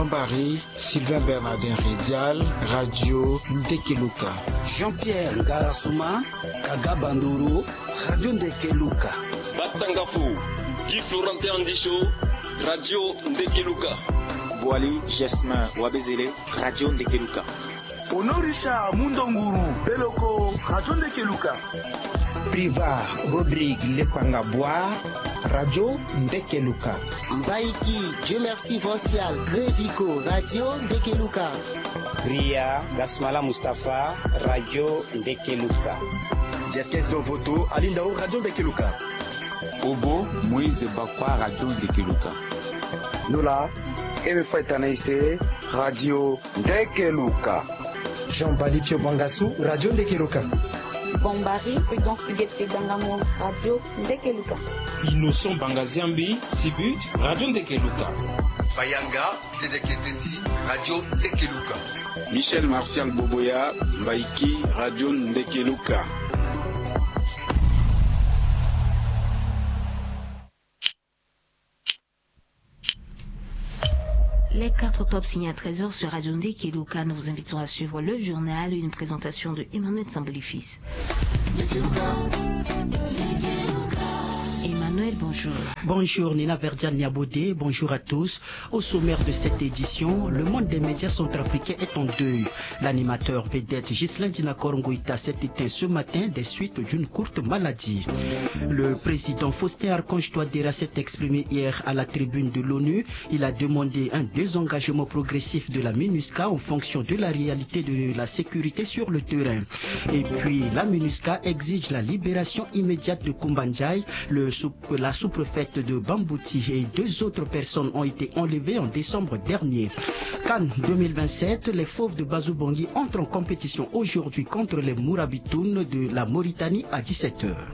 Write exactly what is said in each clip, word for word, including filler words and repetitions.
Mbari, Sylvain Bernardin Redial, Radio Ndekeluka. Jean-Pierre Ngarasuma, Kaga Bandoro, Radio Ndekeluka. Batangafo, Guy Florentin Andicho, Radio Ndekeluka. Boali Jasmin Wabezele, Radio Ndekeluka. Honoré Richard Mundonguru Beloko, Radio Ndekeluka. Priva Rodrigue Lepanga Bois, Radio Ndekeluka. Mbaiki Dieu Merci Vancial Grevico, Radio Ndekeluka. Ria Gasmala Mustapha, Radio Ndekeluka. Jeskes Dovoto Alindao, Radio Ndekeluka. Obo Moïse Bakwa, Radio Ndekeluka. Nola Eme Faitanaise, Radio Ndekeluka. Jean Bali Pio Bangasu, Radio Ndekeluka. Bombari Prudence Huguette Dangamo, Radio Ndekeluka. Innocent Bangaziambi Sibut, Radio Ndekeluka. Bayanga Tete Keteti, Radio Ndekeluka. Michel Martial Boboya Mbaiki, Radio Ndekeluka. Les quatre tops signés à treize heures sur Radio Ndekeluka. Nous vous invitons à suivre le journal, une présentation de Emmanuel Sambolifis. Emmanuel, bonjour. Bonjour Nina Verdiane Niabodé, bonjour à tous. Au sommaire de cette édition, le monde des médias centrafricains est en deuil. L'animateur vedette Ghislain Dinakor Ngoïta s'est éteint ce matin des suites d'une courte maladie. Le président Faustin Archange Touadéra s'est exprimé hier à la tribune de l'ONU. Il a demandé un désengagement progressif de la MINUSCA en fonction de la réalité de la sécurité sur le terrain. Et puis, la MINUSCA exige la libération immédiate de Koumba Ndiaye, le sous- La sous-préfète de Bambouti et deux autres personnes ont été enlevées en décembre dernier. CAN deux mille vingt-sept, les Fauves de Bazou Bangui entrent en compétition aujourd'hui contre les Mourabitoun de la Mauritanie à dix-sept heures.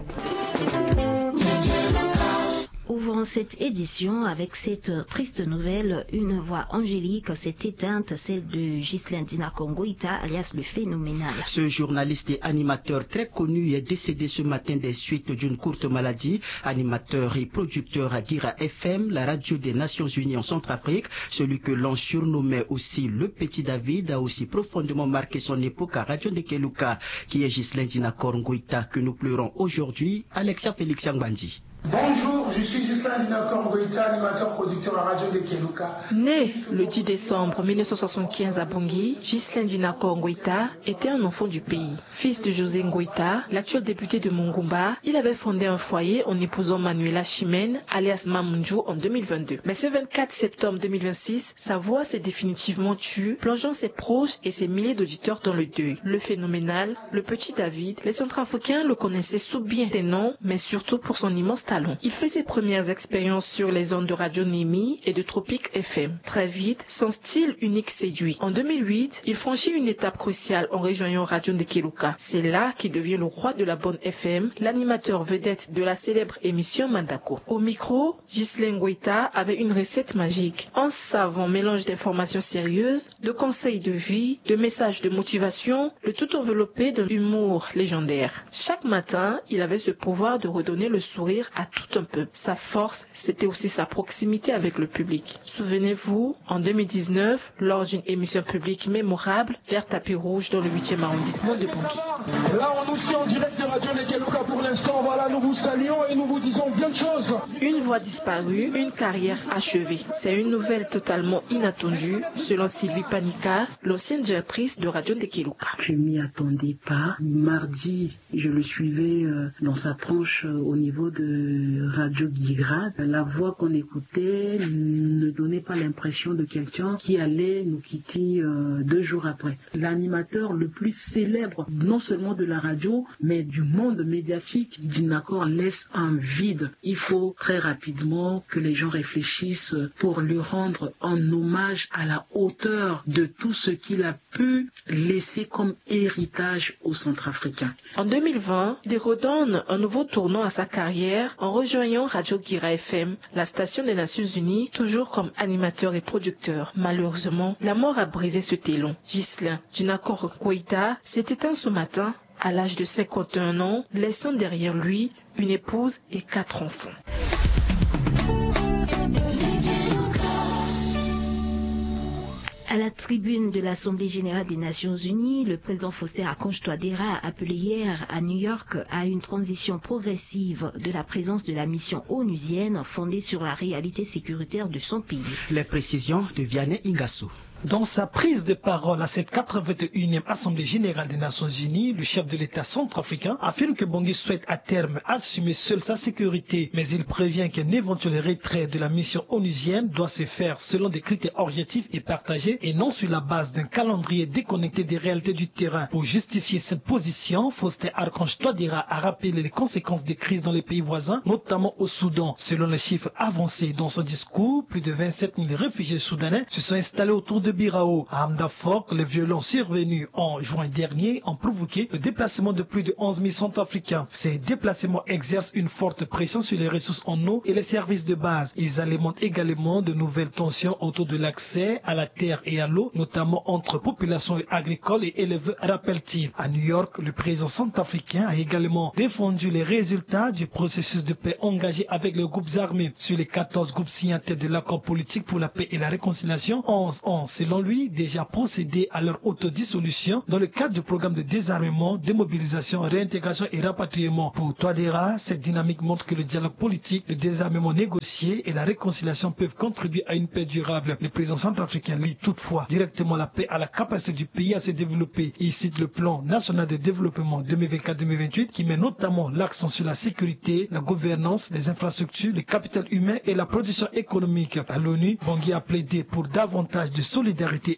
Ouvrons cette édition avec cette triste nouvelle. Une voix angélique s'est éteinte, celle de Ghislain Dinakor Ngoïta, alias le Phénoménal. Ce journaliste et animateur très connu est décédé ce matin des suites d'une courte maladie. Animateur et producteur à Guira F M, la radio des Nations Unies en Centrafrique, celui que l'on surnommait aussi le Petit David, a aussi profondément marqué son époque à Radio Ndekeluka, qui est Ghislain Dinakor Ngoïta, que nous pleurons aujourd'hui. Alexia Félix Angbandi. Bonjour, je suis Ghislain Dinakor Ngoïta, animateur producteur à Radio Ndekeluka. Né le dix décembre mille neuf cent soixante-quinze à Bangui, Ghislain Dinakor Ngoïta était un enfant du pays. Fils de José Ngoïta, l'actuel député de Mongoumba, il avait fondé un foyer en épousant Manuela Chimène, alias Mamundjou, en deux mille vingt-deux. Mais ce vingt-quatre septembre deux mille vingt-six, sa voix s'est définitivement tue, plongeant ses proches et ses milliers d'auditeurs dans le deuil. Le Phénoménal, le Petit David, les Centrafricains le connaissaient sous bien des noms, mais surtout pour son immense talent. Il fait ses premières expériences sur les ondes de Radio Némi et de Tropic F M. Très vite, son style unique séduit. En deux mille huit, il franchit une étape cruciale en rejoignant Radio Ndekeluka. C'est là qu'il devient le roi de la bande F M, l'animateur vedette de la célèbre émission Mandako. Au micro, Ghislain Ngoïta avait une recette magique. Un savant mélange d'informations sérieuses, de conseils de vie, de messages de motivation, le tout enveloppé d'un humour légendaire. Chaque matin, il avait ce pouvoir de redonner le sourire à tout un peuple. Sa force, c'était aussi sa proximité avec le public. Souvenez-vous, en deux mille dix-neuf, lors d'une émission publique mémorable, Vert Tapis Rouge dans le huitième arrondissement de Bangui. Là, on nous suit en direct de Radio Ndekeluka pour l'instant. Voilà, nous vous saluons et nous vous disons bien de choses. Une voix disparue, une carrière achevée. C'est une nouvelle totalement inattendue, selon Sylvie Panika, l'ancienne directrice de Radio Ndekeluka. Je m'y attendais pas. Mardi, je le suivais, euh, dans sa tranche, euh, au niveau de Radio Guira. La voix qu'on écoutait ne donnait pas l'impression de quelqu'un qui allait nous quitter, euh, deux jours après. L'animateur le plus célèbre, non seulement de la radio, mais du monde médiatique, Dinakor laisse un vide. Il faut très rapidement que les gens réfléchissent pour lui rendre un hommage à la hauteur de tout ce qu'il a pu laisser comme héritage aux Centrafricains. En deux mille vingt, il redonne un nouveau tournant à sa carrière en rejoignant Radio Guira F M, la station des Nations Unies, toujours comme animateur et producteur. Malheureusement, la mort a brisé cet élan. Ghislain Dinakor Ngoïta s'est éteint ce matin à l'âge de cinquante et un ans, laissant derrière lui une épouse et quatre enfants. À la tribune de l'Assemblée générale des Nations Unies, le président Faustin Archange Touadéra a appelé hier à New York à une transition progressive de la présence de la mission onusienne fondée sur la réalité sécuritaire de son pays. Les précisions de Vianney Ingasso. Dans sa prise de parole à cette quatre-vingt-et-unième Assemblée générale des Nations Unies, le chef de l'État centrafricain affirme que Bangui souhaite à terme assumer seul sa sécurité, mais il prévient qu'un éventuel retrait de la mission onusienne doit se faire selon des critères objectifs et partagés et non sur la base d'un calendrier déconnecté des réalités du terrain. Pour justifier cette position, Faustin Archange Touadéra a rappelé les conséquences des crises dans les pays voisins, notamment au Soudan. Selon les chiffres avancés dans son discours, plus de vingt-sept mille réfugiés soudanais se sont installés autour de Birao. À Hamdafok, les violences survenues en juin dernier ont provoqué le déplacement de plus de onze mille centrafricains. Ces déplacements exercent une forte pression sur les ressources en eau et les services de base. Ils alimentent également de nouvelles tensions autour de l'accès à la terre et à l'eau, notamment entre populations agricoles et éleveurs, rappelle-t-il. À New York, le président centrafricain a également défendu les résultats du processus de paix engagé avec les groupes armés. Sur les quatorze groupes signataires de l'accord politique pour la paix et la réconciliation, onze ont, selon lui, déjà procédé à leur autodissolution dans le cadre du programme de désarmement, démobilisation, réintégration et rapatriement. Pour Touadéra, cette dynamique montre que le dialogue politique, le désarmement négocié et la réconciliation peuvent contribuer à une paix durable. Le président centrafricain, lui, toutefois, directement la paix à la capacité du pays à se développer. Il cite le plan national de développement deux mille vingt-quatre deux mille vingt-huit qui met notamment l'accent sur la sécurité, la gouvernance, les infrastructures, le capital humain et la production économique. À l'ONU, Bangui a plaidé pour davantage de solidarité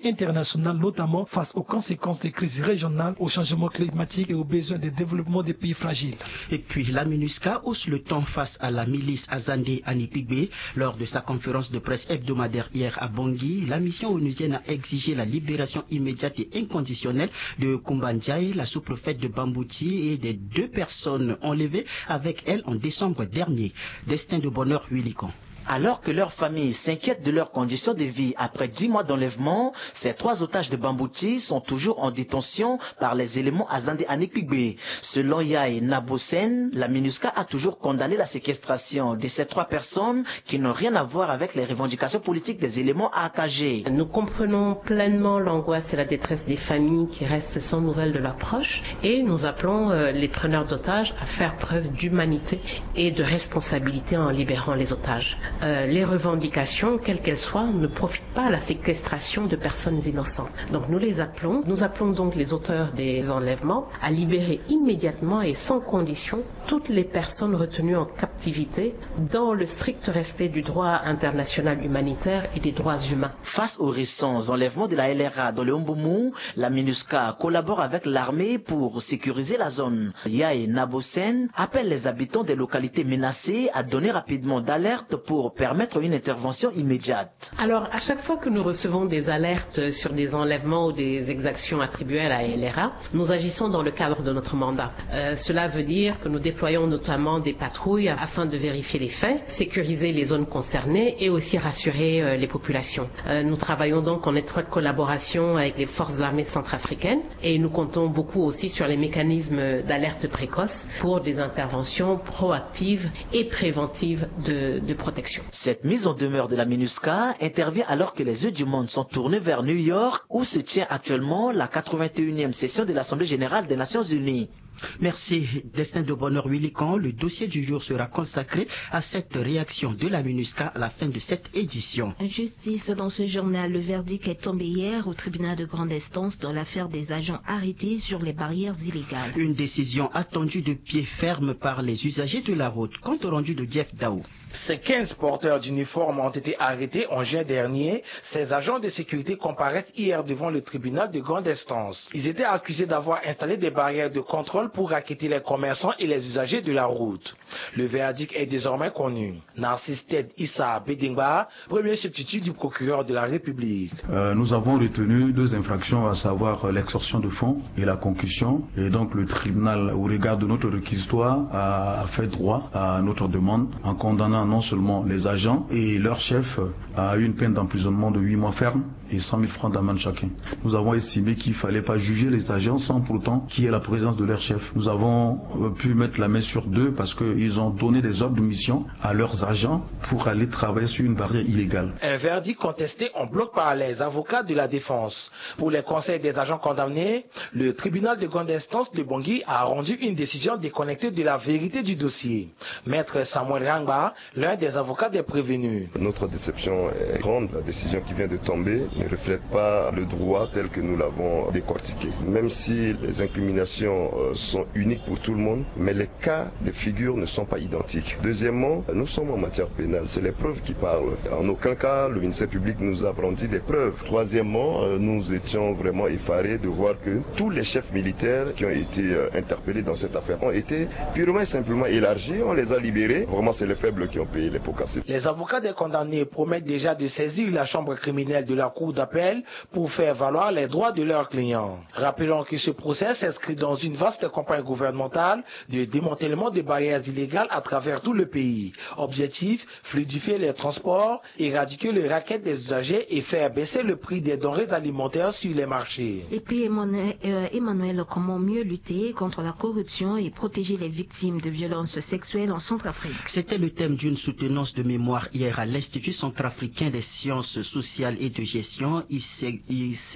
internationale, notamment face aux conséquences des crises régionales, au changement climatique et aux besoins de développement des pays fragiles. Et puis, la MINUSCA hausse le ton face à la milice Azande Anipigbe. Lors de sa conférence de presse hebdomadaire hier à Bangui, la mission onusienne a exigé la libération immédiate et inconditionnelle de Kumba Ndiaye, la sous-préfète de Bambouti, et des deux personnes enlevées avec elle en décembre dernier. Destin de bonheur, Willy Kan. Alors que leur famille s'inquiète de leurs conditions de vie après dix mois d'enlèvement, ces trois otages de Bambouti sont toujours en détention par les éléments Azande Anipigbe. Selon Yaye Nabosen, la MINUSCA a toujours condamné la séquestration de ces trois personnes qui n'ont rien à voir avec les revendications politiques des éléments A K G. Nous comprenons pleinement l'angoisse et la détresse des familles qui restent sans nouvelles de leurs proches et nous appelons, euh, les preneurs d'otages à faire preuve d'humanité et de responsabilité en libérant les otages. Euh, les revendications, quelles qu'elles soient, ne profitent pas à la séquestration de personnes innocentes. Donc nous les appelons, nous appelons donc les auteurs des enlèvements à libérer immédiatement et sans condition toutes les personnes retenues en captivité dans le strict respect du droit international humanitaire et des droits humains. Face aux récents enlèvements de la L R A dans le Mbomou, la MINUSCA collabore avec l'armée pour sécuriser la zone. Yaye Nabosen appelle les habitants des localités menacées à donner rapidement d'alerte pour permettre une intervention immédiate. Alors, à chaque fois que nous recevons des alertes sur des enlèvements ou des exactions attribuées à la L R A, nous agissons dans le cadre de notre mandat. Euh, cela veut dire que nous déployons notamment des patrouilles afin de vérifier les faits, sécuriser les zones concernées et aussi rassurer, euh, les populations. Euh, nous travaillons donc en étroite collaboration avec les forces armées centrafricaines et nous comptons beaucoup aussi sur les mécanismes d'alerte précoce pour des interventions proactives et préventives de, de protection. Cette mise en demeure de la MINUSCA intervient alors que les yeux du monde sont tournés vers New York, où se tient actuellement la quatre-vingt-et-unième session de l'Assemblée générale des Nations unies. Merci. Destin de bonheur, Willy Kan. Le dossier du jour sera consacré à cette réaction de la MINUSCA à la fin de cette édition. Justice dans ce journal. Le verdict est tombé hier au tribunal de grande instance dans l'affaire des agents arrêtés sur les barrières illégales. Une décision attendue de pied ferme par les usagers de la route. Compte rendu de Jeff Dao. Ces quinze porteurs d'uniformes ont été arrêtés en juin dernier. Ces agents de sécurité comparaissent hier devant le tribunal de grande instance. Ils étaient accusés d'avoir installé des barrières de contrôle pour racketter les commerçants et les usagers de la route. Le verdict est désormais connu. Narcisse Ted Issa Bedengba, premier substitut du procureur de la République. Euh, nous avons retenu deux infractions, à savoir, euh, l'extorsion de fonds et la concussion. Et donc, le tribunal, au regard de notre réquisitoire, a, a fait droit à notre demande en condamnant non seulement les agents et leur chef à une peine d'emprisonnement de huit mois ferme et cent mille francs d'amende chacun. Nous avons estimé qu'il fallait pas juger les agents sans pourtant qu'il y ait la présence de leur chef. Nous avons euh, pu mettre la main sur deux parce qu'ils ont donné des ordres de mission à leurs agents pour aller travailler sur une barrière illégale. Un verdict contesté en bloc par les avocats de la défense. Pour les conseils des agents condamnés, le tribunal de grande instance de Bangui a rendu une décision déconnectée de la vérité du dossier. Maître Samuel Rangba, l'un des avocats des prévenus. Notre déception est grande. La décision qui vient de tomber ne reflète pas le droit tel que nous l'avons décortiqué. Même si les incriminations euh, sont uniques pour tout le monde, mais les cas de figure ne sont pas identiques. Deuxièmement, nous sommes en matière pénale, c'est les preuves qui parlent. En aucun cas, le ministère public nous a brandi des preuves. Troisièmement, euh, nous étions vraiment effarés de voir que tous les chefs militaires qui ont été euh, interpellés dans cette affaire ont été purement et simplement élargis, on les a libérés. Vraiment, c'est les faibles qui ont payé les pots cassés. Les avocats des condamnés promettent déjà de saisir la chambre criminelle de la cour d'appel pour faire valoir les droits de leurs clients. Rappelons que ce procès s'inscrit dans une vaste campagne gouvernementale de démantèlement des barrières illégales à travers tout le pays. Objectif, fluidifier les transports, éradiquer les raquettes des usagers et faire baisser le prix des denrées alimentaires sur les marchés. Et puis Emmanuel, euh, Emmanuel, comment mieux lutter contre la corruption et protéger les victimes de violences sexuelles en Centrafrique ? C'était le thème d'une soutenance de mémoire hier à l'Institut centrafricain des sciences sociales et de gestion, I C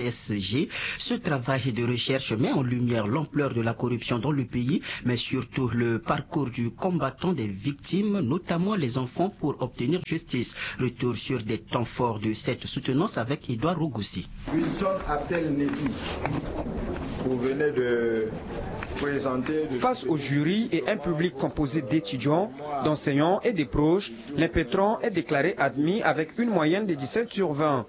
S G. Ce travail de recherche met en lumière l'ampleur de la corruption dans le pays, mais surtout le parcours du combattant des victimes, notamment les enfants, pour obtenir justice. Retour sur des temps forts de cette soutenance avec Édouard Rogoussi. Wilson Abdel Nebi, vous venez de présenter... Face au jury et un public composé d'étudiants, d'enseignants et des proches, l'impétrant est déclaré admis avec une moyenne de dix-sept sur vingt.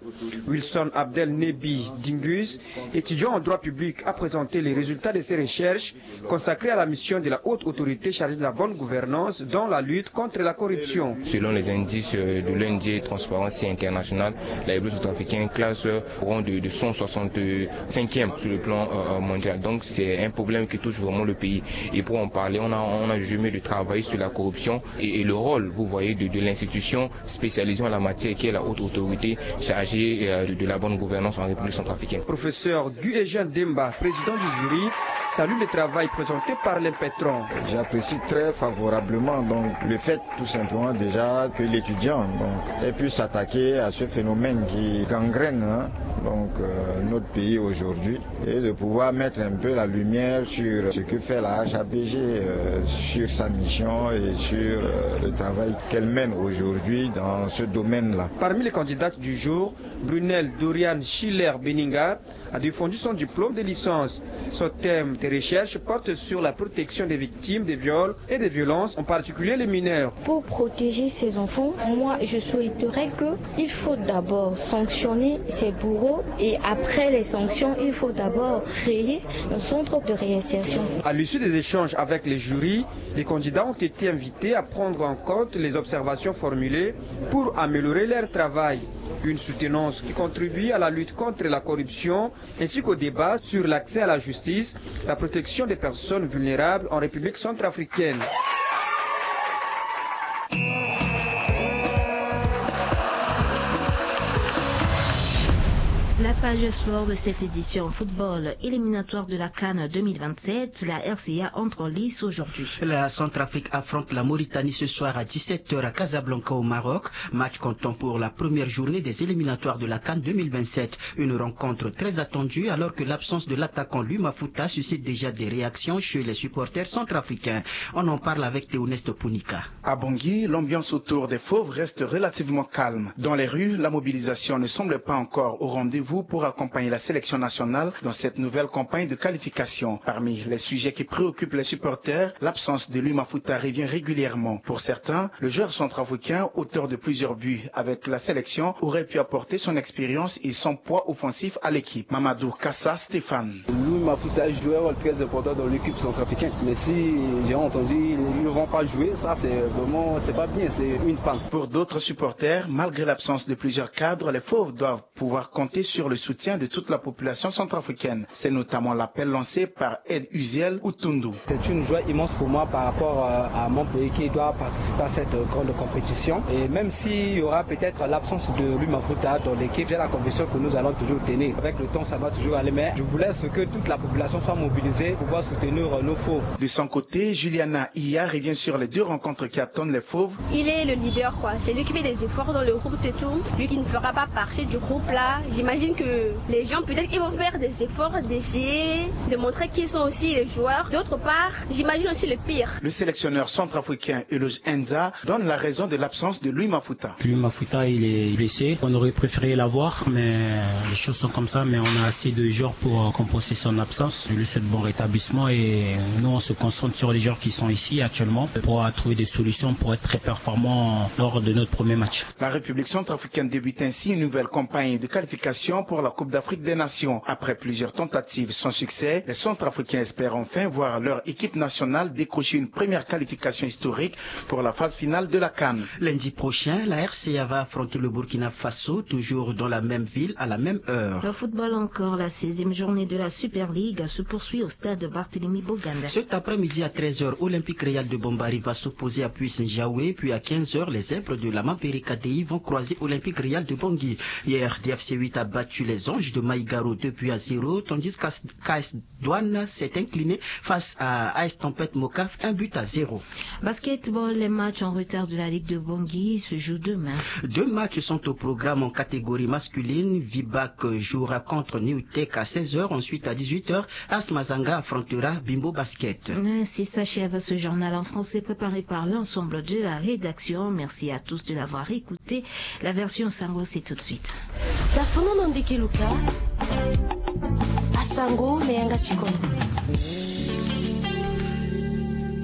Wilson Abdel Nebi Dingus, étudiant en droit public, a présenté les résultats de ses recherches consacrées à la mission de la haute autorité chargée de la bonne gouvernance dans la lutte contre la corruption. Selon les indices euh, de l'O N G Transparency International, la République centrafricaine classe euh, au rang de, de cent soixante-cinquième sur le plan euh, mondial. Donc c'est un problème qui touche vraiment le pays. Et pour en parler, on a, on a jugé mieux de travailler sur la corruption et, et le rôle, vous voyez, de, de l'institution spécialisée en la matière, qui est la haute autorité chargée euh, de, de la bonne gouvernance en République centrafricaine. Professeur Guy Eugène Demba, président du jury, salue le travail présenté par l'impétrant. J'apprécie très favorablement donc le fait tout simplement déjà que l'étudiant donc, ait pu s'attaquer à ce phénomène qui gangrène hein, donc euh, notre pays aujourd'hui et de pouvoir mettre un peu la lumière sur ce que fait la H A P G euh, sur sa mission et sur euh, le travail qu'elle mène aujourd'hui dans ce domaine-là. Parmi les candidates du jour, Brunel Dorian Schiller Beninga a défendu son diplôme de licence. Son thème de recherche porte sur la protection des victimes de viols et des violences, en particulier les mineurs. Pour protéger ces enfants, moi, je souhaiterais que il faut d'abord sanctionner ces bourreaux et après les sanctions, il faut d'abord créer un centre de réinsertion. À l'issue des échanges avec les jurys, les candidats ont été invités à prendre en compte les observations formulées pour améliorer leur travail. Une soutenance qui contribue à la lutte contre la corruption ainsi qu'au débat sur l'accès à la justice, la protection des personnes vulnérables en République centrafricaine. La page sport de cette édition. Football, éliminatoire de la CAN deux mille vingt-sept, la R C A entre en lice aujourd'hui. La Centrafrique affronte la Mauritanie ce soir à dix-sept heures à Casablanca au Maroc. Match comptant pour la première journée des éliminatoires de la CAN deux mille vingt-sept. Une rencontre très attendue alors que l'absence de l'attaquant Louis Mafuta suscite déjà des réactions chez les supporters centrafricains. On en parle avec Théoneste Punika. À Bangui, l'ambiance autour des Fauves reste relativement calme. Dans les rues, la mobilisation ne semble pas encore au rendez-vous pour accompagner la sélection nationale dans cette nouvelle campagne de qualification. Parmi les sujets qui préoccupent les supporters, l'absence de Louis Mafuta revient régulièrement. Pour certains, le joueur centrafricain, auteur de plusieurs buts avec la sélection, aurait pu apporter son expérience et son poids offensif à l'équipe. Mamadou Kassa Stéphane. Louis Mafuta joue un rôle très important dans l'équipe centrafricaine. Mais si j'ai entendu, ils ne vont pas jouer, ça c'est vraiment, c'est pas bien, c'est une panne. Pour d'autres supporters, malgré l'absence de plusieurs cadres, les Fauves doivent pouvoir compter sur le soutien de toute la population centrafricaine. C'est notamment l'appel lancé par Ed Uziel Utundu. C'est une joie immense pour moi par rapport, euh, à mon pays qui doit participer à cette grande compétition. Et même s'il y aura peut-être l'absence de Louis Mafuta dans l'équipe, j'ai la conviction que nous allons toujours tenir. Avec le temps, ça va toujours aller, mais je voulais que toute la population soit mobilisée pour pouvoir soutenir nos fauves. De son côté, Juliana Iya revient sur les deux rencontres qui attendent les fauves. Il est le leader, quoi. C'est lui qui fait des efforts dans le groupe et tout. Lui qui ne fera pas partie du groupe là. J'imagine que les gens, peut-être, ils vont faire des efforts d'essayer de montrer qui sont aussi les joueurs. D'autre part, j'imagine aussi le pire. Le sélectionneur centrafricain Eloge Enza donne la raison de l'absence de Louis Mafuta. Louis Mafuta, il est blessé. On aurait préféré l'avoir, mais les choses sont comme ça. Mais on a assez de joueurs pour, euh, compenser son absence. Je lui souhaite bon rétablissement et nous, on se concentre sur les joueurs qui sont ici actuellement pour, euh, trouver des solutions pour être très performants lors de notre premier match. La République centrafricaine débute ainsi une nouvelle campagne de qualification pour la Coupe d'Afrique des Nations. Après plusieurs tentatives sans succès, les Centrafricains espèrent enfin voir leur équipe nationale décrocher une première qualification historique pour la phase finale de la CAN. Lundi prochain, la R C A va affronter le Burkina Faso, toujours dans la même ville, à la même heure. Le football encore, la seizième journée de la Super League se poursuit au stade Barthélemy Boganda. Cet après-midi à treize heures, Olympique Real de Bombari va s'opposer à Puis Njawe, puis à quinze heures, les Zèbres de la Mampere K D I vont croiser Olympique Real de Bangui. Hier, D F C huit a battu les Anges de Maïgaro deux buts à zéro, tandis qu'A S, qu'A S Douane s'est incliné face à A S Tempête Mokaf, un but à zéro. Basketball, les matchs en retard de la Ligue de Bangui se jouent demain. Deux matchs sont au programme en catégorie masculine. Vibac jouera contre New Tech à seize heures. Ensuite, à dix-huit heures, A S Mazanga affrontera Bimbo Basket. Ainsi s'achève ce journal en français préparé par l'ensemble de la rédaction. Merci à tous de l'avoir écouté. La version Sango, c'est tout de suite. Dafonono ndeke luka. Asango na yanga ti koto.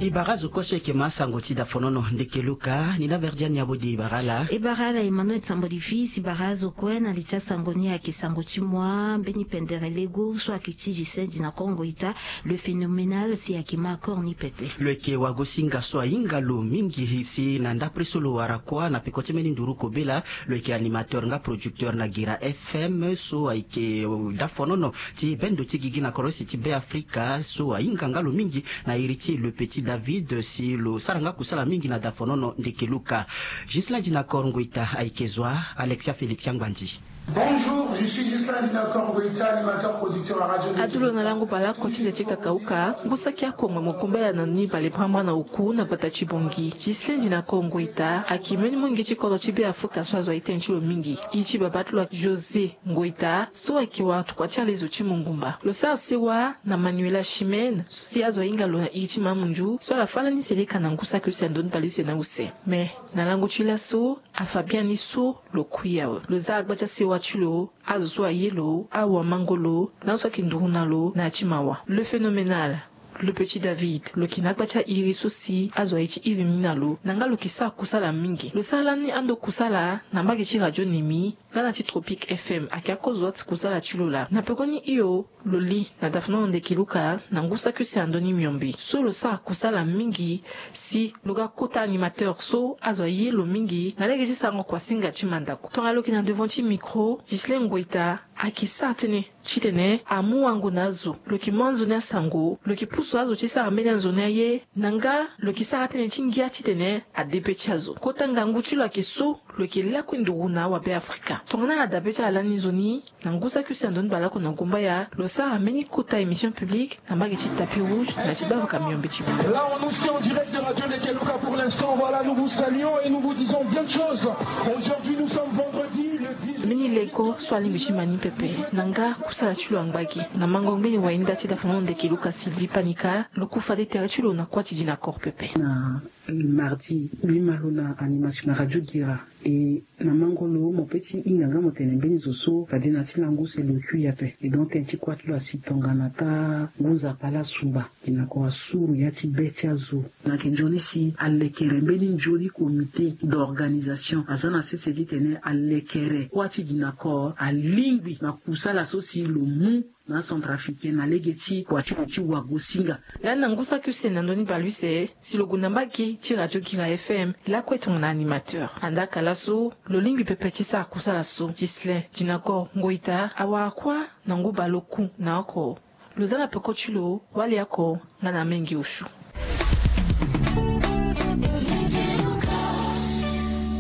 E bara azo kue so eke ma asango ti dafonono ndeke luka, ni na Verdiane Yabodi e bara ala. E bara ala Emmanuel Sambodi fils, e bara azo kue na li ti asango ni ayeke sango ti moi, mbeni pendere lego so ayeke ti Justin Dinakongo Ita, le phénoménal, si ayeke ma accord ni pepe. Lo yeke wagosinga so ahinga lo mingi si na ndapre so lo wara kuâ na peko ti mbeni nduru kobela, lo yeke animateur nga producteur na Gira F M so ayeke, euh, dafonono ti bendo ti gigi na korosi ti Be Afrika so ahinga nga lo mingi na iri ti Le Petit David si lo sara nga kusala mingi na dafonono ndeke luka. Ghislain Dinakongo Ita ayeke zo wa Alexia Félix Angbandi. Bonjour, je suis Ghislain Dinakongo Ita, animateur producteur à Radio Adu lo na lango bale oko ti ze ti kakauka, ngu saki akongbo mo kumbela na ni bale brambra na oku na gbata ti Bangui. Ghislain Dinakongo Ita ayeke mbeni munge ti kodro ti Be Afrika so azo aye tënë ti lo mingi. Iri ti babâ ti lo ayeke José Ngoita so ayeke wara tokua ti alezo ti Mongumba. Lo sara sewa na Manuela Chimène so si azo ahinga lo na iri ti Mamunzu so ala fâ lani seleka na ngu saki use na ndoni bale use na use. Me na lango ti laso afa biani so lo kui awe. Lo za agba ti asewa ti lo, azo so aye lo, awamango lo, na azo so ayeke nduru na lo na ya ti mawa. Le phénoménal, Le Petit David, lo yeke na agba ti airi so si azo aye ti iri ni na lo, na nga lo yeke sara kusala mingi. Lo sara lani ando kusala na mbage ti Radio Nemi nga na ti Tropique F M, ayeke akozo wa ti kusala ti lo laa. Na pekoni hio, lo li na dafonono ndeke luka na ngu saki use na ndö ni miombe so lo sara kusala mingi si lo ga kota animateur so azo aye lo mingi na lege ti sarango kuasinga ti mandako. Tongana lo yeke na devant ti micro, Ghislain Ngoita ayeke sara tënë titene amu wango na azo, lo yeke mu anzoni asango, lo yeke pusu azo ti sara mbeni anzoni aye, na nga lo yeke sara tënë ti ngia titene ade be ti azo. Kota ngangu ti lo ayeke so lo yeke lakue nduru na awabe Afrika. Tongana ala dabe ti ala lani nzoni, na ngu saki use na ndoni baleoko na gumbaya, lo sara mbeni kota émission publique na mbage ti tapis rouge na ya ti davaka miombe ti bango. Là, on nous suit en direct de Radio Ndeke Luka pour l'instant. Voilà, nous vous saluons et nous vous disons bien de choses. Aujourd'hui, nous sommes vendredi, le dix-huit. Mbeni leko so alingbi ti ma ni pepe na nga kusala ti lo angba gi. Na mango ngbeni wainda ti dafonono ndeke luka Sylvie Panika, lo ku fade tere ti lo na kuâ ti Dinakongo pepe. Na mardi, lima lo na animation na Radio Gira. E na mango lo mo pe ti hinga nga mo tene mbeni zo so fade na ti lango use lo kui ape. E donc tene ti kuâ ti lo asi tongana taa ngu nzapa laa asumba. Dinakongo asuru ya ti be ti azo. Na yeke nzoni si alekere mbeni nzoni comité d'organisation. Aza na sese titene alekere Kuâ ti dinakor alingbi na kusala so si lo mu na acentrafricain na lege ti kua ti lo ti wagosinga. Lani na ngu saki use na ndö ni baleuse si lo gue na mbage ti radio Guira FM lakue tongana animateur. Andaa ka laso lo lingbi pepe ti sara kusala so. Ghislain Dinakor Ngoita awara kuâ na ngu baleoku na oko. Lo za na peko ti lo wali oko nga na Mengi Oshu.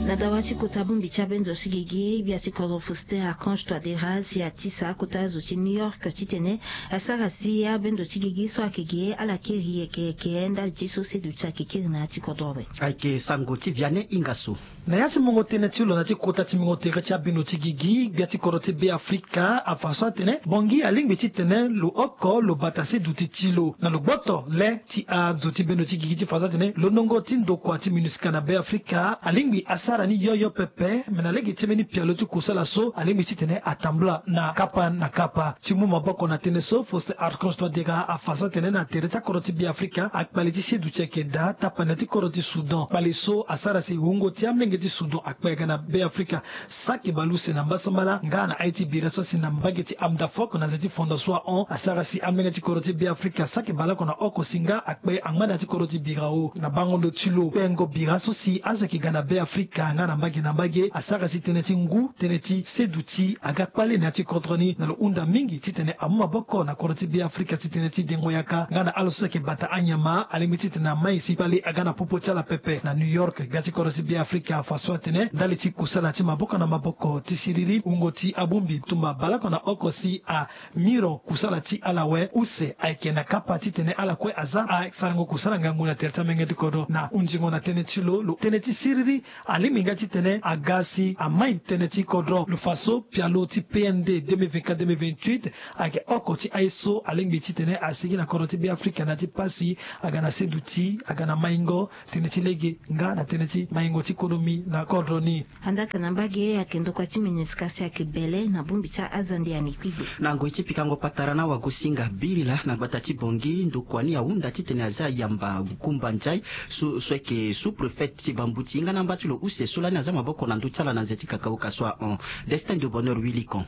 Na dawa ti kota bongbi ti abendo ti gigi, gbia ti kodro Faustin Archange Touadéra si atisa akota zo ti New York titene asara si abendo ti gigi so ayeke ge ala kiri yeke yeke ndali ti so seduti ayeke kiri na ya ti kodro awe. Ayeke sango ti Vianney Ingasso. Na ya ti mungo tënë ti lo na ya ti kota ti mungo tere ti abendo ti gigi, gbia ti kodro ti Beafrika afa so atene Bangui alingbi titene lo oko lo bata seduti ti lo na lo gboto le ti azo ti bendo ti gigi ti fa so atene londongo ti ndokua ti MINUSCA na Beafrika alingbi asara ni yoyo pepe. Me na lege ti mbeni pialo ti kusala so alingbi titene atambula na kapa na kapa. Ti mu maboko na tënë so, Faustin Archange Touadéra afa so atene na tere ti akodro ti Beafrika akpale ti seduti ayeke daa tapande ti kodro ti Soudan. Kpale so asara si wungo ti amolenge ti Soudan akpe aga na Beafrika. Saki baleuse na mbasambala nga na aye ti bira so asi na mbage ti Amdafok na nze ti Fondation ahon asara si amolenge ti kodro ti Beafrika saki baleoko na oko si nga akpe angba na ya ti kodro ti Birao. Na bango ndo ti lo kpengo bira so si azo ayeke ga na Beafrika nga na mbage na mbage asara si tënë ti ngu, tënë ti seduti aga kpale na ya ti kodro ni na lo hunda mingi titene amu maboko na kodro ti Beafrika si tënë ti dengo yaka nga na ala so si ayeke bata anyama alingbi titene amai si kpale aga na popo ti ala pepe. Na New York gbia ti kodro ti Beafrika afa so atene ndali ti kusala ti maboko na maboko ti siriri wungo ti abongbi tumba baleoko na oko si a miro kusala ti ala awe use ayeke na kapa titene ala kue aza asarango kusala ngangu na tere ti amenge ti kodro. Na hunzingo na tënë ti lo, lo tënë ti siriri alingbi nga titene aga si amai tënë ti kodro. Lo fa so pialo ti P N D deux mille vingt-quatre deux mille vingt-huit ayeke oko ti aye so alingbi titene asigi na kodro ti Beafrika na ya ti pasi aga na seduti aga na maingo tënë ti lege nga na tënë ti maingo ti konomi na kodro ni. Andaa ka na mbage ayeke ndokua ti MINUSCA si ayeke bele na bongbi ti azande ani kpigbe. Na ngoi ti pikango patara na wagosinga birila na gbata ti Bangui ndokua ni ahunda titene aza yamba Nkumba Ndiaye so so ayeke sous-préfet ti Bambuti nga na amba ti lo use so lani aza maboko na ndö ti ala na nze ti kakaoka so ahon. Destin de Bonheur Wilikon.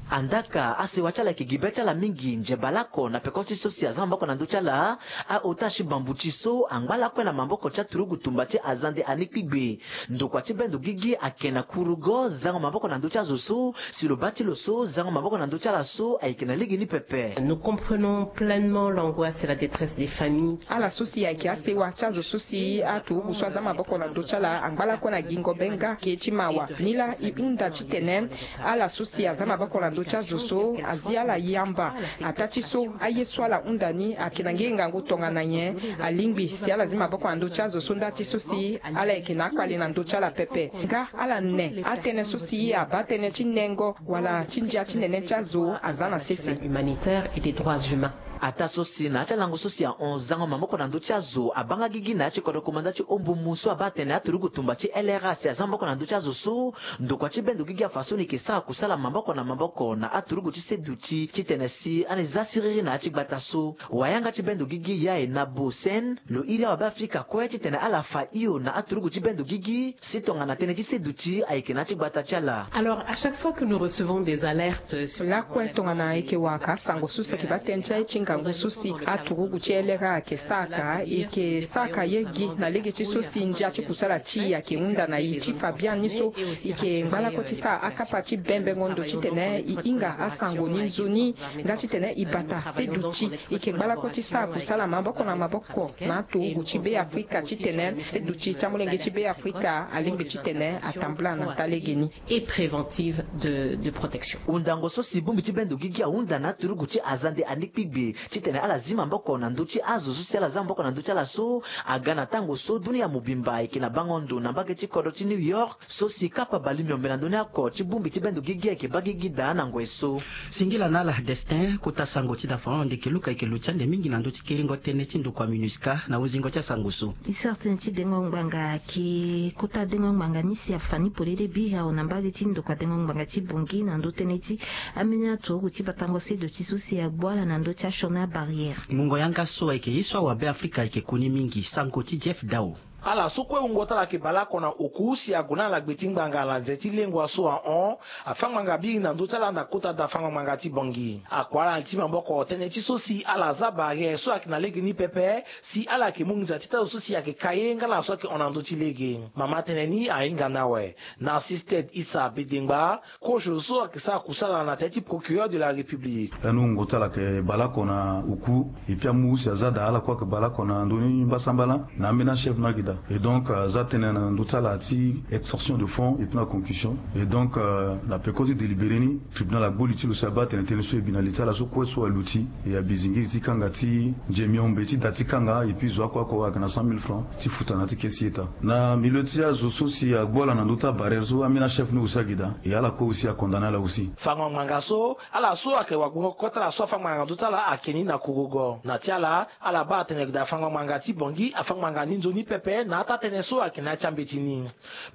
Andaa ka asewa ti ala ayeke gi be ti ala mingi nze baleoko na peko ti so si aza maboko na ndö ti ala. Aota ti Bambuti so angba lakue na maboko ti aturugu tumba ti azande ani kpigbe. Ndokua ti bendo gigi ayeke na kurugo zango maboko na ndö ti azo so si lo baa ti lo so zango maboko na ndö ti ala so ayeke na lege ni pepe. Nous comprenons pleinement l'angoisse et la détresse des familles. Ala so si ayeke asewa ti azo so si aturugu so aza maboko na ndö ti ala angba lakue na gingo be nga ke ti mawa. Nilaa e hunda titene ala so si aza maboko na ndö ti azo so azi ala yamba. Ataa ti so aye so ala hunda ni ayeke na nge ngangu tongana nyen? Alingbi si ala zi maboko na ndö ti azo so nda ti so si ala yeke na akpale na ndö ti ala pepe nga ala ne atënë so si abaa tënë ti nengo wala ti ndia ti nene ti azo aza na sese. Humanitaire et des droits humains. Ataa so si na ya ti alango so si ahon zango maboko na ndö ti azo abaa nga gigi na ya ti kodro komanda ti ombumu so abaa atene aturugu tumba ti L R A si aza maboko na ndö ti azo so. Ndokua ti bendo gigi afa so ni yeke sara kusala maboko na maboko na aturugu ti seduti titene si ani za siriri na ya ti gbata so. Wayanga ti bendo gigi Yaye Nabo Sen lo iri awabe Afrika kue titene ala fa hio na aturugu ti bendo gigi si tongana tënë ti seduti ayeke na ya ti gbata ti ala. Alors, à chaque fois que nous recevons des alertes sur... Lakue tongana e yeke wara ka asango so si ayeke baa tënë ti aye ti ngangu so si aturugu ti L R A ayeke sara ka, e yeke sara ka ye gi na lege ti so si ndia ti kusala ti e ayeke hunda na e ti fa biani so e yeke ngba lakue ti sara akapa ti bembengo ndo titene e hinga asango ni nzoni nga titene e bata seduti. E yeke ngba lakue ti sara kusala maboko na maboko na aturugu ti Beafrika titene seduti ti amolenge ti Beafrika alingbi titene atambula na taa lege ni. Et préventive de, de protection. Hundango so si bongbi ti bendo gigi ahunda na aturugu ti azande ani kpigbe titene ala zi maboko na ndö ti azo so si ala za maboko na ndö ti ala so aga na tango so dunia mobimba ayeke na bango ndo na mbage ti kodro ti New York so si kapa bale miombe na ndö ni oko ti bongbi ti bendo gigi ayeke baa gigi daa na ngoi so. Singila na ala Destin, kota sango ti dafa hon ande yeke luka yeke lo ti ande mingi na ndö ti kiringo tënë ti ndokua MINUSCA na hunzingo ti asango so. E sara tënë ti dengo ngbanga ayeke kota dengo ngbanga ni si afa ni polele biri awe na mbage ti ndokua dengo ngbanga ti Bangui na ndö tënë ti ambeni aturugu ti batango seduti so si agbu ala na ndö ti asioni abarrière. Mungo yanga so ayeke ye so awabe Afrika ayeke koni mingi, sango ti Jeff Dao. Ala so kue wungo ti ala ayeke baleoko na oku si ague na ala gbe ti ngbanga na nze ti lengua so ahon, afâ ngbanga biri na ndö ti ala na kota da fâ ngbanga ti Bangui. Akua ala ti maboko tënë ti so si ala za barrière so ayeke na lege ni pepe, si ala yeke mu nginza ti tâ zo so si ayeke ka ye nga na so ayeke hon na ndö ti lege. Mama tënë ni ahinga ni awe. Narcisse Ted Issa Bedengba, kozo so ayeke sara kusala na tënë ti procureur de la République. Lani wungo ti ala ayeke baleoko na oku, et puis amu si aza daa ala kue ayeke baleoko na ndö ni mbasambala na ambeni achève ni ayeke daa. Et donc, euh, aza tënë na ndö ti ala ti extorsion de fonds et puis na concussion. Et donc, euh, na peko ti délibéré ni, tribunal agbu li ti lo si abaa atene tënë so e bi na li ti ala so kue so aluti, e abi zingiri ti kanga ti nzemi hombe ti da ti kanga, et puis zo oko oko ayeke na cent mille francs ti futa na ya ti kesi ita. Na milieu ti azo so si agbu ala na ndö ti abarrière so, ambeni achève ni aussi ayeke daa, e ala kue aussi acondamné ala aussi. Fango ngbanga so, ala so ayeke wagbongo kota ala so afâ ngbanga na ndö ti ala ayeke ni na kurugo. Na ti ala, ala baa atene ayeke daa fango ngbanga ti Bangui afâ ngbanga ni nzoni pepe na atâ tënë so ayeke na ya ti ambeti ni.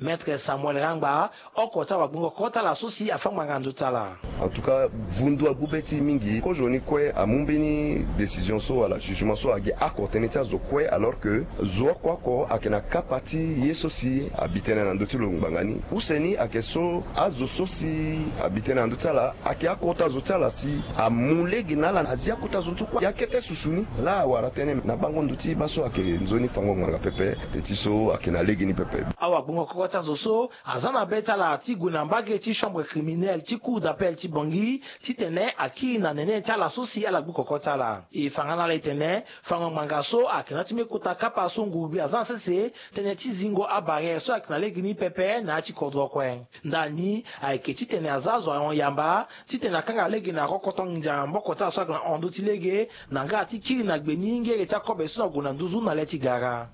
Maître Samuel Rangba, oko ti awagbongo kota ala so si afâ ngbanga na ndö ti ala. En tout cas, vundu agbu be ti e mingi. Kozo ni kue amu mbeni décision so wala jugement so agi oko tënë ti azo kue, alors que zo oko oko ayeke na kapa ti ye so si abi tënë na ndö ti lo ngbanga ni. Use ni ayeke so azo so si abi tënë na ndö ti ala ayeke akota zo ti ala si amu lege na ala na zi akota zo ti kue. Ya kete susu ni laa awara tënë na bango ndo ti baa so ayeke nzoni fango ngbanga pepe. Teti so ayeke na lege ni pepe. Awagbongo koko ti azo so aza na be ti ala ti gue na mbage ti chambre criminelle ti cour d'appel ti Bangui titene akiri na nene ti ala so si ala gbu koko ti ala. E fa nga na ala e tene fango ngbanga so ayeke na ya ti mbeni kota kapa so ngurugbia aza na sese tënë ti zingo abarrière so ayeke na lege ni pepe na ya ti kodro kue. Ndani ayeke titene aza azo ahon yamba titene akanga lege na rokoto nginza na maboko ti ala so ayeke na hon ndö ti lege na nga ti kiri na gbe ni ngere ti akobe so na gue na nduzu na le ti gara.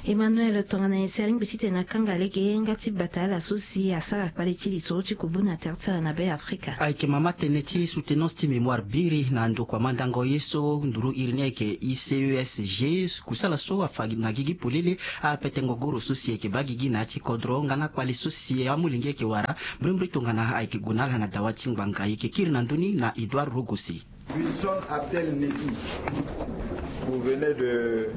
Emmanuel, tongana nyen si alingbi titene akanga lege nga ti bata ala so si asara kpale ti lisoro ti kubu na tere ti ala na Be Afrika? Ayeke mama tënë ti soutenance ti mémoire biri na ndokua mandango ye so nduru iri ni ayeke I C E S G, kusala so afa na gigi polele apetengo goro so si ayeke baa gigi na ya ti kodro nga na kpale so si amolenge ayeke wara. Mbrimbri tongana ayeke gue na ala na dawa ti ngbanga, e yeke kiri na ndö ni na Edouard Rogosi. Wilson Abdel Nebi, vous venez de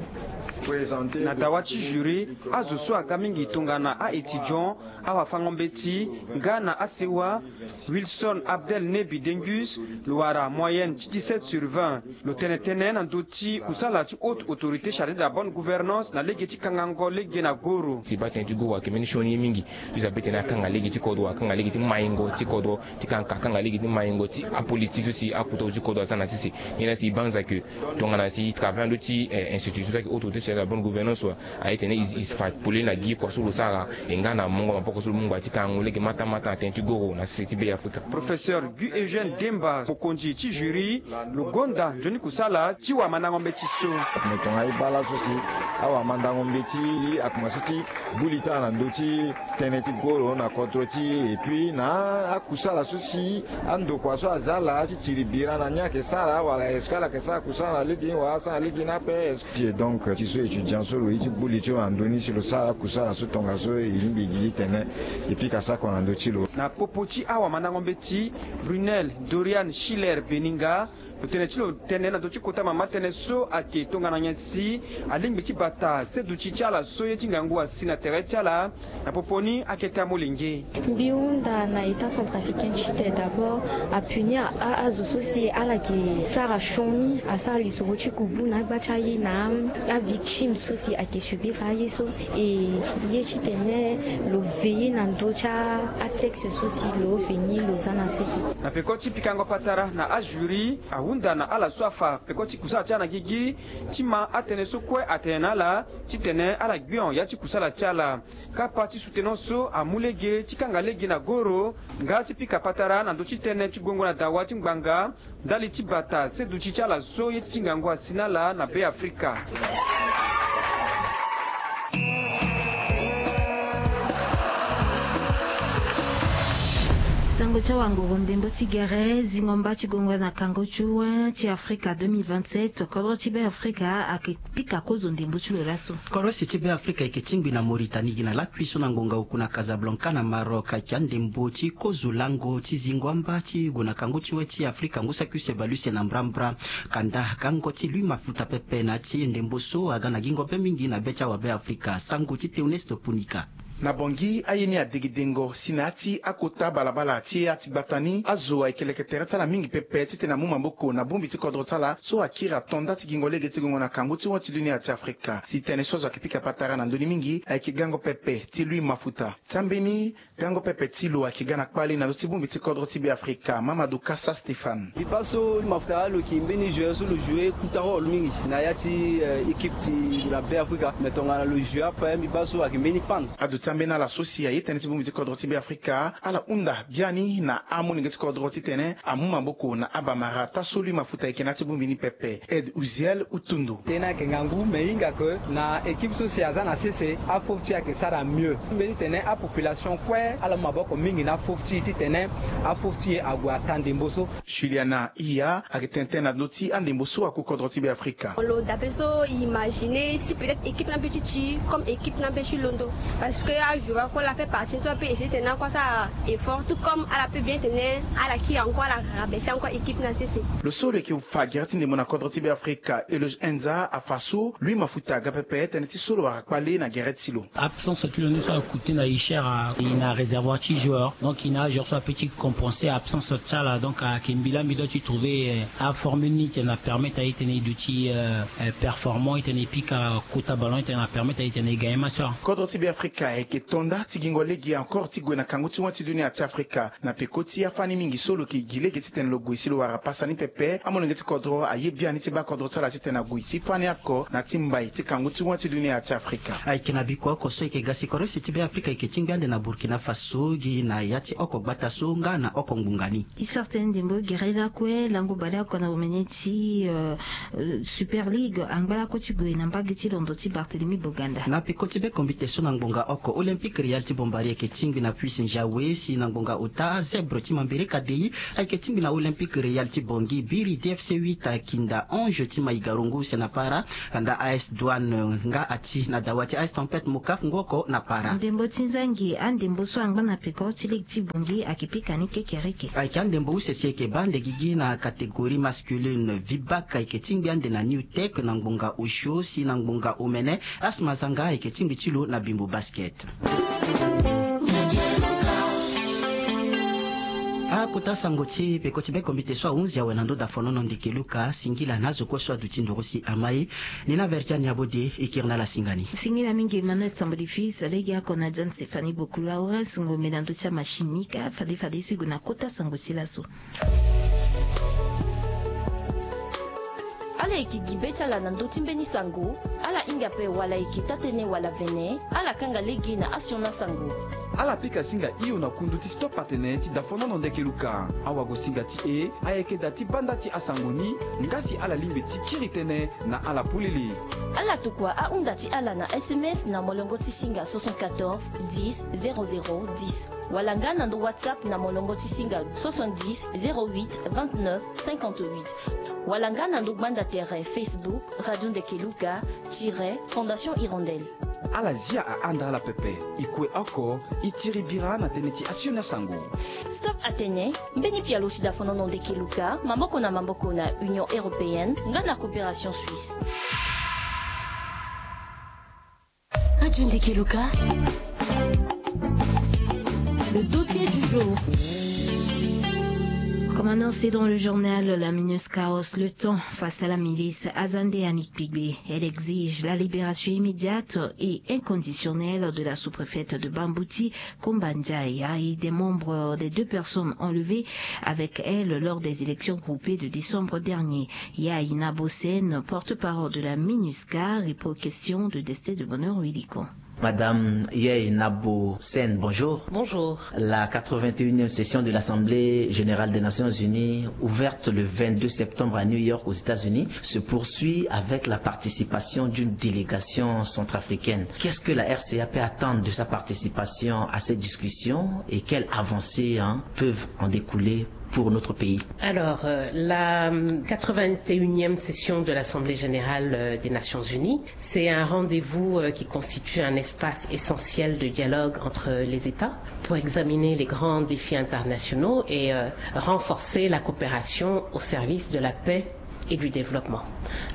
présenter. Na dawa ti jury, azo so aga mingi tongana a-étudiant, awafango-mbeti nga na asewa. Wilson Abdel Nebi Dengus, lo wara moyenne ti dix-sept sur vingt. Lo tene tënë na ndö ti kusala ti haute autorité chargée de la bonne gouvernance na lege ti kangango lege na goro. Si baa tënë ti goro ayeke mbeni sioni ye mingi. Ti za be tene akanga lege ti kodro, akanga lege ti maingo ti kodro, ti kanga, akanga lege ti maingo ti apolitique so si akota zo ti kodro aza na sese. Nyen laa si e banza ke tongana si e travaille na ndö ti, eh, institution so ayeke haute autorité chargée de la bonne gouvernance wa, aye tene e, e fa polele na gi kua so lo sara, e nga na mungo maboko so lo mu ngba ti kangango lege mata mata na tënë ti goro na sese ti Be Afrika. Professeur Guy Eugène Demba, mokonzi ti jury, lo gonda nzoni kusala ti wamandango mbeti so. Me tongana e baa laso si awamandango mbeti akomanse ti gbu li ti ala na ndö ti tënë ti goro na kodro ti e, et puis na akusala so si andokua so aza ala ti tiri bira na ni ayeke sara wala est-ce que ala yeke sara kusala na lege ni wala asara na lege ni ape, est-ce que, donc ti so étudiant so lo ye ti gbu li ti lo na ndö ni si lo sara akusala so tongaso e lingbi e gi titene e pika sako na ndö ti lo. Na popo ti awamandango mbeti, Brunel Dorian Schiller Beninga, lo tene ti lo tënë na ndö ti kota mama tënë so ayeke tongana nyen si alingbi ti bata seduti ti ala so ye ti ngangu asi na tere ti ala. Na popo ni akete amolenge. Mbi hunda na État centrafricain ti tene d'abord apunir a, azo so si ala yeke sara sioni, asara lisoro ti kubu na agba ti aye na avictime so si ayeke subir aye so. E ye titene lo veiller na ndö ti atexte so si lo veni lo za na sese. Na peko ti pikango patara na ajury, ahunda na ala so afa peko ti kusala ti ala na gigi ti ma atënë so kue atene na ala titene ala gbio ya ti kusala ti ala. Kapa ti soutenance so amu lege ti kanga lege na goro nga ti pika patara na ndö ti tënë ti gongo na dawa ti ngbanga ndali ti bata seduti ti ala so ye ti ngangu asi na ala na Be Afrika. Ndembo ti awanguru ndembo ti gere zingo mba ti gongo na kango ti wen ti Afrika deux mille vingt-sept, kodro ti Be Afrika ayeke pika kozo ndembo ti lo laso. Kodro ese ti Be Afrika ayeke tingbi na Mauritanie gi na lakui so na ngonga oku na Casablanca na Maroc, ayeke andembo ti kozo lango ti zingo amba ti gue na kango ti wen ti Afrika ngu saki use bale use na mbrambra. Kanda gango ti Louis Mafuta pepe na ya ti ndembo so aga na gingo be mingi na be ti awabe Afrika. Sango ti Théoneste Punika. Na Bangui aye ni adegedengo si na ya ti akota balabala ti ya ti gbata ni azo ayeke leke tere ti ala mingi pepe titene amu maboko na bongbi ti kodro ti ala so akiri ato nda ti gingo lege ti gongo na kangu ti wen ti dunia ti Afrika. Si tënë so azo ayeke pika patara na ndö ni mingi ayeke gango pepe ti Louis Mafuta. Ti ambeni gango pepe ti lo ayeke ga na kpale na ndö ti bongbi ti kodro ti Be Afrika, Mamadou Kassa Stéphane. Mbi baa so Louis Mafuta alo yeke mbeni joueur so lo joue kota rôle mingi na ya ti, eh, équipe ti na Be Afrika. Mais tongana lo joue ape, mbi baa so ayeke mbeni panne. Aduti ambeni ala so si aye tënë ti bongbi ti kodro ti Be Afrika, ala hunda biani na amolenge ti kodro titene amu maboko na abamara taa so Louis Mafuta ayeke na ya ti bongbi ni pepe. Aide Uziel Utundu. Tënë ayeke ngangu, me e hinga ke na équipe so si aza na sese, afofo ti e ayeke sara mieux. Mbeni tene apopulation kue ala mu maboko mingi na afofo ti e titene afofo ti e ague ata ndembo so. Juliana Iya ayeke tene tënë na ndö ti andembo so aku kodro ti Be Afrika. Lo dape so imaginer si peut-être équipe ni ambeti ti comme équipe ni ambeti londo, parce que ajoueur kue la fait partie ni so ape essayer tene akue asara effort tout comme ala peut bien tene ala kiri encore ala rabaisser encore équipe na sese. Lo so lo yeke fa gere ti ndembo na kodro ti Be Afrika, Eloge Enza, afa so Louis Mafuta aga pepe tënë ti so lo wara kpale na gere ti lo. Absence ti lo ni so akute na e cher, e na réservoir ti joueur, donc e na ajoueur so ape ti compenser absence ti ala, donc ayeke mbi laa mbi doit ti trouver, eh, aformule ni titene apermettre aye titene e duti, eh, eh, performant, e titene e pika kota ballon, e titene apermettre aye titene e gagner match. Kodro ti Be Afrika ayeke to nda ti gingo lege encore ti gue na kangu ti wen ti dunia ti Afrika. Na peko ti afani mingi so lo yeke gi lege titene lo gue si lo wara pasa ni pepe, amolenge ti kodro aye biani ti baa kodro ti ala titene ague ti fani oko na ti mbai ti kangu ti wen ti dunia ti Afrika. Ayeke na biko oko so e yeke ga si kodro ese ti Be Afrika e yeke tingbi ande na Burkina Faso gi na ya ti oko gbata so nga na oko ngbonga ni. E sara tënë ndembo gere lakue lango baleoko na omene ti, eh, Super League angba lakue ti gue na mbage ti londo ti Barthélemy Boganda. Na peko ti be kombite so na ngbonga oko Olympique Royal ti Bombari ayeke tingbi na Puce Njawe si na ngbonga ota Zèbre ti Mambereka Dei ayeke tingbi na Olympique Royal ti Bangui, Biri D F C huit akinda Ange ti Maïga Rongo use na para, kanda A S Douane nga ati na dawa ti A S Tempête Mokaf ngu oko na para. Ndembo ti nzangi, andembo so angba na peko ti ligue ti Bangui ayeke pika ni kekereke. Ayeke andembo use si e yeke baa ande gigi na catégorie masculine. Vibac ayeke tingbi ande na New Tech na ngbonga osio si na ngbonga omene Asma Zanga ayeke tingbi ti lo na Bimbo Basket. Akota sango ti peko ti be kombite so ahunzi awe na ndö dafonono ndeke Luka. Singila na azo kue so aduti nduru si ama e. Ni na Vertiane Abode e kiri na ala singa ni. Singila mingi Emmanuel Sambodi Fils, legeoko na John Stéphanie Boku Lawrence Ngombe na ndö ti amachine ni ka fade fade so e gue na kota sango ti laso. Ala yeke gi be ti ala na ndö ti mbeni sango. Ala hinga ape wala e yeke taa-tënë wala vene, ala kanga lege na asioni asango. Ala pika singa hio na kundu ti Stop Atene ti dafonono ndeke Luka. Awagosinga ti e ayeke da ti banda ti asango ni, nga si ala lingbi ti kiri tënë na ala polele. Ala tokua ahunda ti ala na S M S na molongo ti singa soixante-quatorze dix zéro zéro dix, wala nga na ndo WhatsApp na molongo ti singa soixante-dix zéro huit vingt-neuf cinquante-huit, wala nga na ndo gbanda tere Facebook Radio Ndeke Luka tiret Fondation Hirondelle. Ala zia ahanda ala pepe. E kue oko, e tiri bira na tënë ti asioni asango. Stop Atene, mbeni pialo ti dafonono ndeke Luka, maboko na maboko na Union Européenne nga na Coopération Suisse. Radio Ndeke Luka. Le dossier du jour. Comme annoncé dans le journal, la MINUSCA hausse le ton face à la milice Azande Annick Pigbe. Elle exige la libération immédiate et inconditionnelle de la sous-préfète de Bambouti, Kumba Ndiaye, et des membres des deux personnes enlevées avec elle lors des élections groupées de décembre dernier. Yaye Nabosen, porte-parole de la MINUSCA, répond aux questions de Destin de Bonheur Wiliko. Madame Yeye Nabo Sen, bonjour. Bonjour. La quatre-vingt-unième session de l'Assemblée générale des Nations Unies, ouverte le vingt-deux septembre à New York aux États-Unis, se poursuit avec la participation d'une délégation centrafricaine. Qu'est-ce que la R C A peut attendre de sa participation à ces discussions et quelles avancées, hein, peuvent en découler pour notre pays ? Alors, euh, la quatre-vingt-unième session de l'Assemblée générale, euh, des Nations Unies, c'est un rendez-vous, euh, qui constitue un espace essentiel de dialogue entre les États pour examiner les grands défis internationaux et, euh, renforcer la coopération au service de la paix et du développement.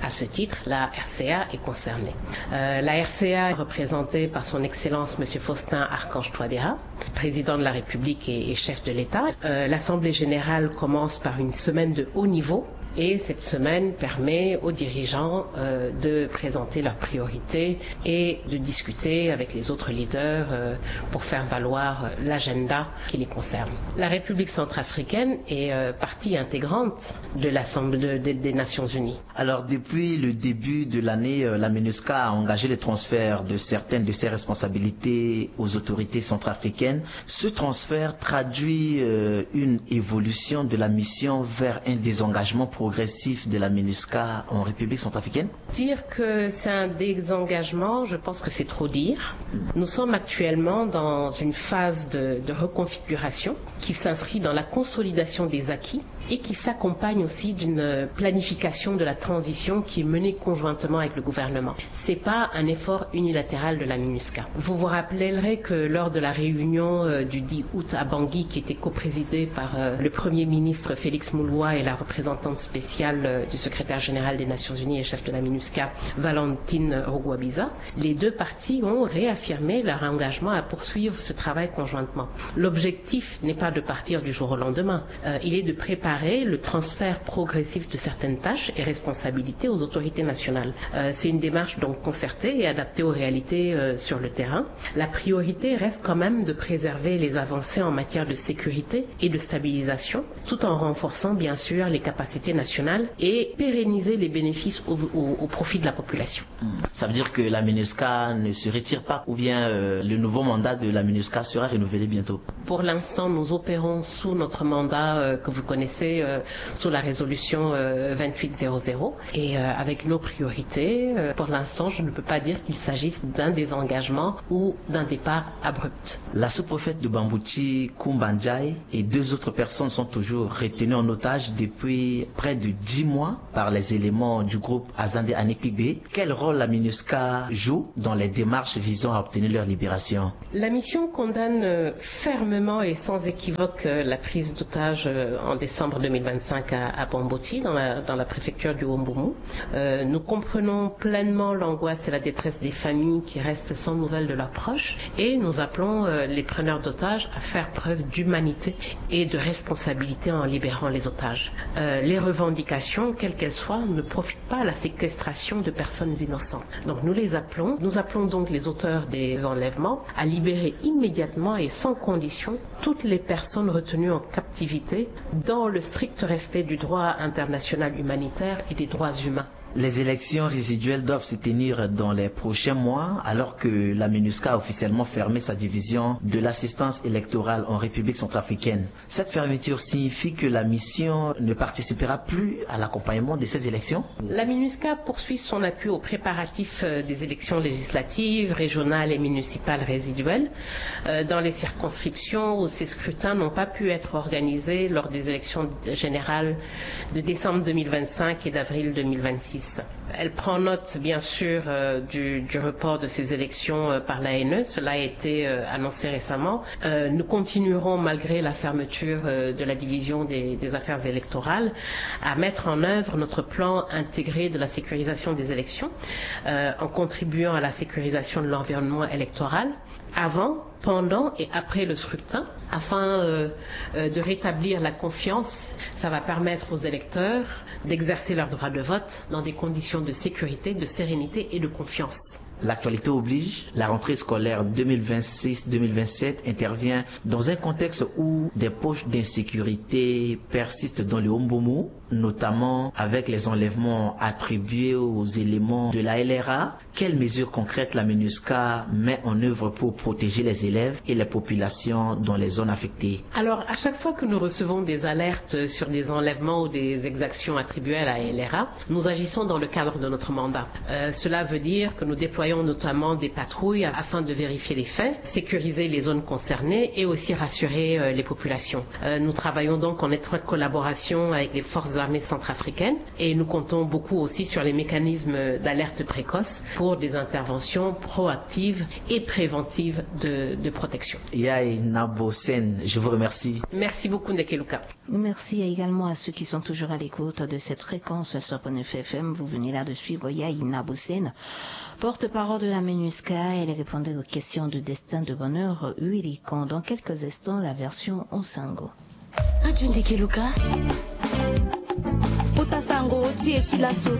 À ce titre, la R C A est concernée. Euh, la R C A est représentée par son Excellence Monsieur Faustin Archange Touadéra, président de la République et, et chef de l'État. Euh, l'Assemblée générale commence par une semaine de haut niveau et cette semaine permet aux dirigeants, euh, de présenter leurs priorités et de discuter avec les autres leaders, euh, pour faire valoir, euh, l'agenda qui les concerne. La République centrafricaine est, euh, partie intégrante de l'Assemblée de, de, des Nations Unies. Alors, depuis le début de l'année, euh, la MINUSCA a engagé le transfert de certaines de ses responsabilités aux autorités centrafricaines. Ce transfert traduit, euh, une évolution de la mission vers un désengagement progressif de la MINUSCA en République centrafricaine ? Dire que c'est un désengagement, je pense que c'est trop dire. Nous sommes actuellement dans une phase de, de reconfiguration qui s'inscrit dans la consolidation des acquis et qui s'accompagne aussi d'une planification de la transition qui est menée conjointement avec le gouvernement. C'est pas un effort unilatéral de la MINUSCA. Vous vous rappellerez que lors de la réunion, euh, du dix août à Bangui, qui était coprésidée par, euh, le Premier ministre Félix Moloua et la représentante spéciale, euh, du secrétaire général des Nations Unies et chef de la MINUSCA, Valentine Rugwabiza, les deux parties ont réaffirmé leur engagement à poursuivre ce travail conjointement. L'objectif n'est pas de partir du jour au lendemain. Euh, il est de préparer le transfert progressif de certaines tâches et responsabilités aux autorités nationales. Euh, c'est une démarche donc concertée et adaptée aux réalités, euh, sur le terrain. La priorité reste quand même de préserver les avancées en matière de sécurité et de stabilisation, tout en renforçant bien sûr les capacités nationales et pérenniser les bénéfices au, au, au profit de la population. Ça veut dire que la MINUSCA ne se retire pas, ou bien, euh, le nouveau mandat de la MINUSCA sera renouvelé bientôt ? Pour l'instant, nous opérons sous notre mandat, euh, que vous connaissez, euh, sous la résolution, euh, vingt-huit zéro zéro. Et, euh, avec nos priorités, euh, pour l'instant, je ne peux pas dire qu'il s'agisse d'un désengagement ou d'un départ abrupt. La sous-préfète de Bambouti, Koumba Ndiaye, et deux autres personnes sont toujours retenues en otage depuis près de dix mois par les éléments du groupe Azande Anikigbe. Quel rôle la MINUSCA joue dans les démarches visant à obtenir leur libération ? La mission condamne, euh, fermement et sans équivoque, euh, la prise d'otage, euh, en décembre deux mille vingt-cinq à, à Bambouti, dans la, dans la préfecture du Haut-Mbomou. Euh, nous comprenons pleinement l'angoisse et la détresse des familles qui restent sans nouvelles de leurs proches et nous appelons, euh, les preneurs d'otages à faire preuve d'humanité et de responsabilité en libérant les otages. Euh, les revendications, quelles qu'elles soient, ne profitent pas à la séquestration de personnes innocentes. Donc nous les appelons, nous appelons donc les auteurs des enlèvements à libérer immédiatement et sans condition toutes les personnes retenues en captivité dans le strict respect du droit international humanitaire et des droits humains. Les élections résiduelles doivent se tenir dans les prochains mois, alors que la MINUSCA a officiellement fermé sa division de l'assistance électorale en République centrafricaine. Cette fermeture signifie que la mission ne participera plus à l'accompagnement de ces élections ? La MINUSCA poursuit son appui aux préparatifs, euh, des élections législatives, régionales et municipales résiduelles, euh, dans les circonscriptions où ces scrutins n'ont pas pu être organisés lors des élections générales de décembre deux mille vingt-cinq et d'avril deux mille vingt-six. Elle prend note, bien sûr, euh, du, du report de ces élections, euh, par l'A N E. Cela a été, euh, annoncé récemment. Euh, nous continuerons, malgré la fermeture, euh, de la division des, des affaires électorales, à mettre en œuvre notre plan intégré de la sécurisation des élections, euh, en contribuant à la sécurisation de l'environnement électoral avant, pendant et après le scrutin, afin, euh, euh, de rétablir la confiance. Ça va permettre aux électeurs d'exercer leur droit de vote dans des conditions de sécurité, de sérénité et de confiance. L'actualité oblige, la rentrée scolaire deux mille vingt-six deux mille vingt-sept intervient dans un contexte où des poches d'insécurité persistent dans le Haut-Mbomou, notamment avec les enlèvements attribués aux éléments de la L R A. Quelles mesures concrètes la MINUSCA met en œuvre pour protéger les élèves et les populations dans les zones affectées ? Alors, à chaque fois que nous recevons des alertes sur des enlèvements ou des exactions attribuées à la L R A, nous agissons dans le cadre de notre mandat. Euh, cela veut dire que nous déployons notamment des patrouilles afin de vérifier les faits, sécuriser les zones concernées et aussi rassurer, euh, les populations. Euh, nous travaillons donc en étroite collaboration avec les forces armées centrafricaines et nous comptons beaucoup aussi sur les mécanismes d'alerte précoce pour des interventions proactives et préventives de, de protection. Yaye Nabo Sen, je vous remercie. Merci beaucoup, Ndekeluka. Merci également à ceux qui sont toujours à l'écoute de cette fréquence sur Pone F M. Vous venez là de suivre Yaye Nabo Sen, porte-parole de la MINUSCA. Elle répondait aux questions de Destin de Bonheur Wirikon. Dans quelques instants, la version en sango. Radio Ndekeluka. Kota sango ti e ti laso.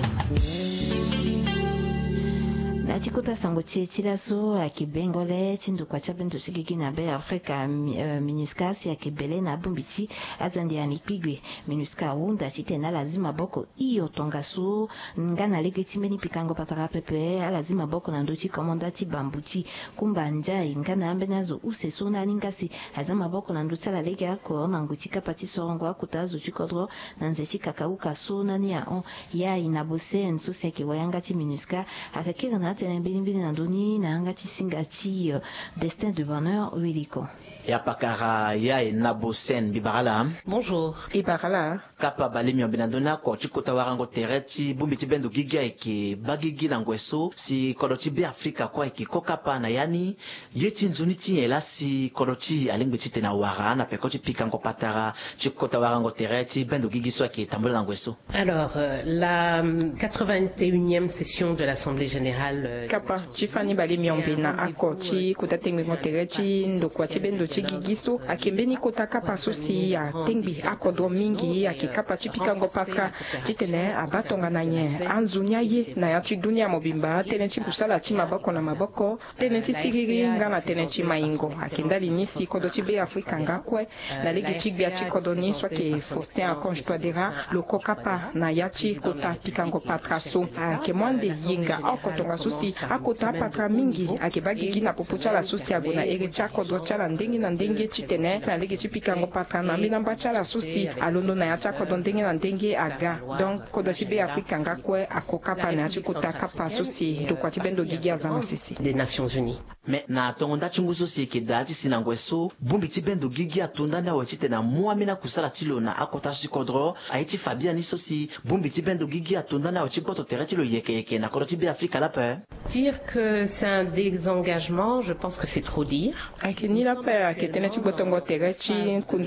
Na ti kota sango ti e ti laso, ayeke bengole ti ndokua ti abendo ti gigi na Be Afrika, mi-, euh, MINUSCA, si ayeke bele na abongbi ti azande ya ni kpigbe. MINUSCA ahunda titene ala zi maboko hio tongaso nga na lege ti mbeni pikango patara pepe, ala zi maboko na ndö ti komanda ti bambuti Kumba Ndiaye nga na ambeni azo use so na alingbi asi aza maboko na ndö ti ala lege oko na ngoi ti kapa ti sorongo akota azo ti kodro na nze ti kakauka so na ni ahon. Yaye Nabo Sen so si ayeke wayanga ti MINUSCA ayeke kiri na atene mbeni mbeni na ndö ni na yanga ti singa ti, euh, Destin de Bonheur Wirikon. Ya pakara, Yaye Nabo Sen, mbi bara ala. Bonjour. Mbi bara ala. Kapa bale miombe na ndö ni oko ti kota warango tere ti bongbi ti bendo gigi ayeke baa gigi na ngoi so si kodro ti Be Afrika kue ayeke ko kapa na ya ni. Ye ti nzoni ti nyen laa si kodro ti e alingbi titene awara na peko ti pikango patara ti kota warango tere ti bendo gigi so ayeke tambula na ngoi so? Alors, euh, la, euh, quatre-vingt-unième session de l'Assemblée générale, euh, kapa ti fani bale miombe na oko ti kota tengbengo tere ti ndokua ti bendo ti gigi so ayeke mbeni kota kapa so si atengbi akodro mingi, ayeke kapa ti pikango patara titene abaa tongana nyen anzoni aye na ya ti dunia mobimba, tënë ti kusala ti maboko na maboko, tënë ti siriri nga na tënë ti maingo. Ayeke ndali ni si kodro ti Be Afrika nga kue na lege ti gbia ti kodro ni so ayeke Faustin Archange Touadéra lo ko kapa na ya ti kota pikango patara so. Ayeke mu ande yenga oko tongaso si akota apatara mingi ayeke baa gigi na popo ti ala so si ague na ere ti akodro ti ala ndenge na ndenge titene na lege ti pikango patara na ambeni amba ti ala so si alondo na ya ti akodro ndenge na ndenge aga. Donc kodro ti Be Afrika nga kue ako kapa na ya ti kota kapa so si ndokua ti bendo gigi aza na sese. Des Nations Unies. Me na tongo nda ti ngu so si e yeke daa ti si na ngoi so, bongbi ti bendo gigi ato ndani awe titene amu ambeni akusala ti lo na akota so ti kodro. Aye ti fa biani so si bongbi ti bendo gigi ato ndani awe ti gboto tere ti lo yeke yeke na kodro ti Be Afrika laa ape? Dire que c'est un désengagement, je pense que c'est trop dire. Ayeke ni laa ape, ayeke tënë ti gbotongo tere ti kundu